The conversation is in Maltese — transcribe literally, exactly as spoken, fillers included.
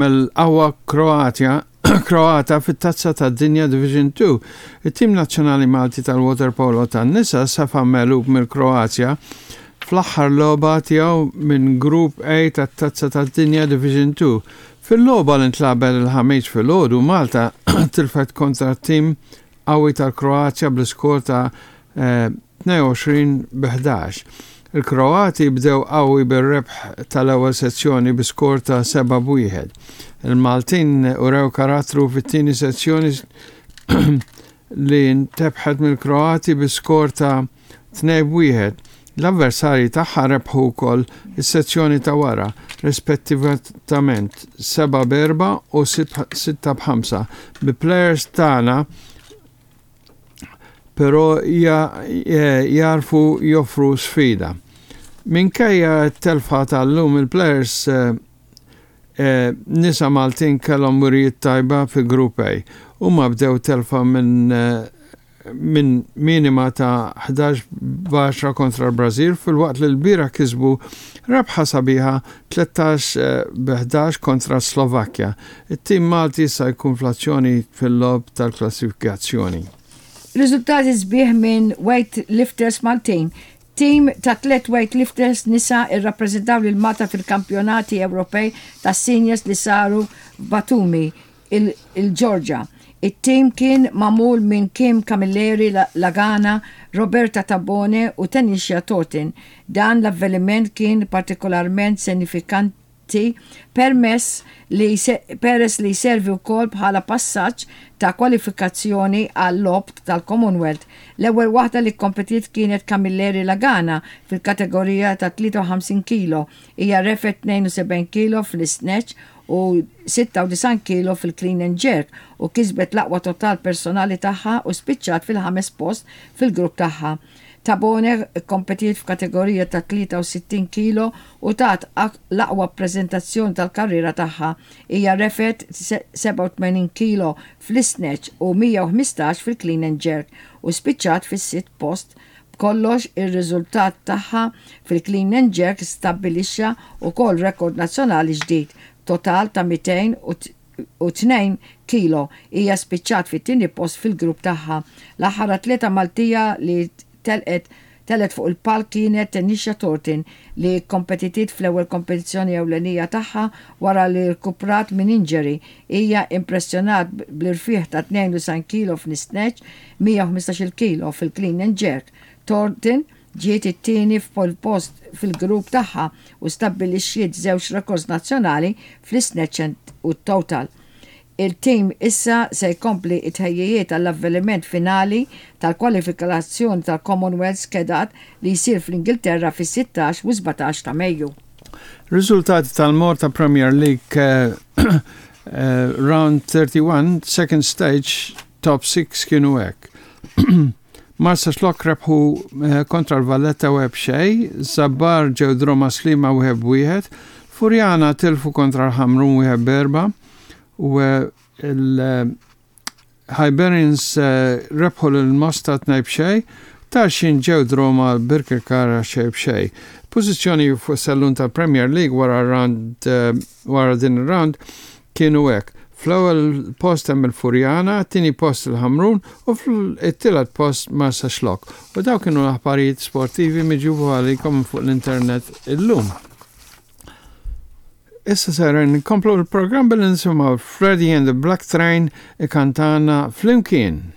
Mill-qawwa Kroatja Kroata fit-Tazza tad-Dinja Division two. It-tim nazzjonali Malti tal-waterpolo tan-nisa safa megħlub mill-Kroazja fl-aħħar logħba tiegħu minn Grupp A tat-Tazza tad-Dinja Division two. Fil-logħba li ntlagħbet il-Ħamis filgħodu, Malta tilfet kontra tim qawwi tal-Kroazja bl-iskor ta' tnejn u għoxrin b' ħdax. Il-Kroati bdew qawwi bir-rebħ tal-ewwel sezzjoni bi skor ta' seba' b'wieħed. Il-Maltin urew karattru fit-tieni sezzjoni li ntrebħet mill-Kroati bi skor ta' tnejn b'wieħed. L-avversarji tagħha rebħu wkoll is-sezzjoni ta' wara, rispettivament seba' b'erba' u sitta b'ħamsa. Bi players tagħna però jagħrfu joffru sfida. Minkejja t-telfa tal-lum, il-players eh, eh, nisa Maltin kellhom wirijiet tajba fi Grupp A. Huma bdew telfa minn eh, minn minima ta' ħdax b'għaxra kontra l-Brazil, filwaqt li l-bieraħ kisbu rebħa sabiħa tlettax b'ħdax kontra Slovakkja. It-tim Malti sa jkun fl-azzjoni fil-logħob tal-klassifikazzjoni. Riżultati sbieħ minn weightlifters Maltin. Tim ta' tlet weightlifters nisa irrappreżentaw lil Malta fil-kampjonati Ewropej ta' seniors li saru f'Batumi, il-Ġorġa. Il-tim kien magħmul minn Kim Camilleri Lagana, Roberta Tabone u Tanisha Tortin. Dan l-avveniment kien partikolarment sinifikanti permess li peress li servi wkoll bħala passaġġ ta' kwalifikazzjoni għal logħob tal-Commonwealth. L-ewwel waħda li kompetiet kienet Camilleri Lagana fil-kategorija ta' tlieta u ħamsin kilo. Hija refgħet tnejn u sebgħin kilo fl-snatch u sitta u disgħin kilo fil-clean and jerk u kisbet l-aqwa total personali tagħha u spiċċat fil-ħames post fil-grupp tagħha. Tabone kompetiet f'kategorija ta' tlieta u sittin kilo u tat l-aqwa prezentazzjoni tal-karriera tagħha. Hija refgħet sebgħa u tmenin kilo fl-snatch u mija u ħmistax fil-clean and jerk u spiċċat fis-sitt post. B'kollox, ir-riżultat tagħha fil-clean and jerk stabbilixxa wkoll rekord nazzjonali ġdid, total ta' mitejn u tnejn kilo. Hija spiċċat fit-tieni post fil-grupp tagħha. L-aħħar atleta Maltija li telqet telgħet fuq il-palk kienet Tanisha Thornton, li kompetitit fl-ewwel kompetizzjoni ewlenija tagħha wara li rkuprat minn injury. Hija impressjonat bl-irfieħ ta' tnejn u disgħin kilo fl-snatch, mija u ħmistax kilo fil-clean and jerk. Thornton ġiet it-tieni f'pol post fil-grupp tagħha u stabbilixxiet żewġ rekords nazzjonali fl-snatch u total. Il-tim issa se jkompli it-tħejjijiet għall-avveniment finali tal-kwalifikazzjoni tal-Commonwealth skedat li jsir fl-Ingilterra fis-sittax u sbatax ta' Mejju. Riżultati tal-Malta Premier League uh, uh, Round thirty-one, second stage, top six kienu hekk. Marsaxlokk rebħu eh, kontra l-Valletta wieħed b'xejn, Żabbar ġew draw ma' Sliema wieħed b'wieħed, Furjana tilfu kontra l-Ħamrun wieħed b'erba' u il-Hibernians rebħu l-Mosta tnejn b'xejn, Tarxien ġew draw ma' Birkirkara xejn b'xejn. Pożizzjoni fuq sellum tal-Premier League wara round wara din round kienu hekk. Fl-ewwel post hemm il-Furjana, tieni post il-Ħamrun u fl-tielet post Marsaxlokk. U daw kienu l-aħbarijiet sportivi miġjuba għalikom fuq l-internet illum. Issa ser nkomplu l-programm billi nisimgħu Freddie and the Black Train ikantana "Flimkien".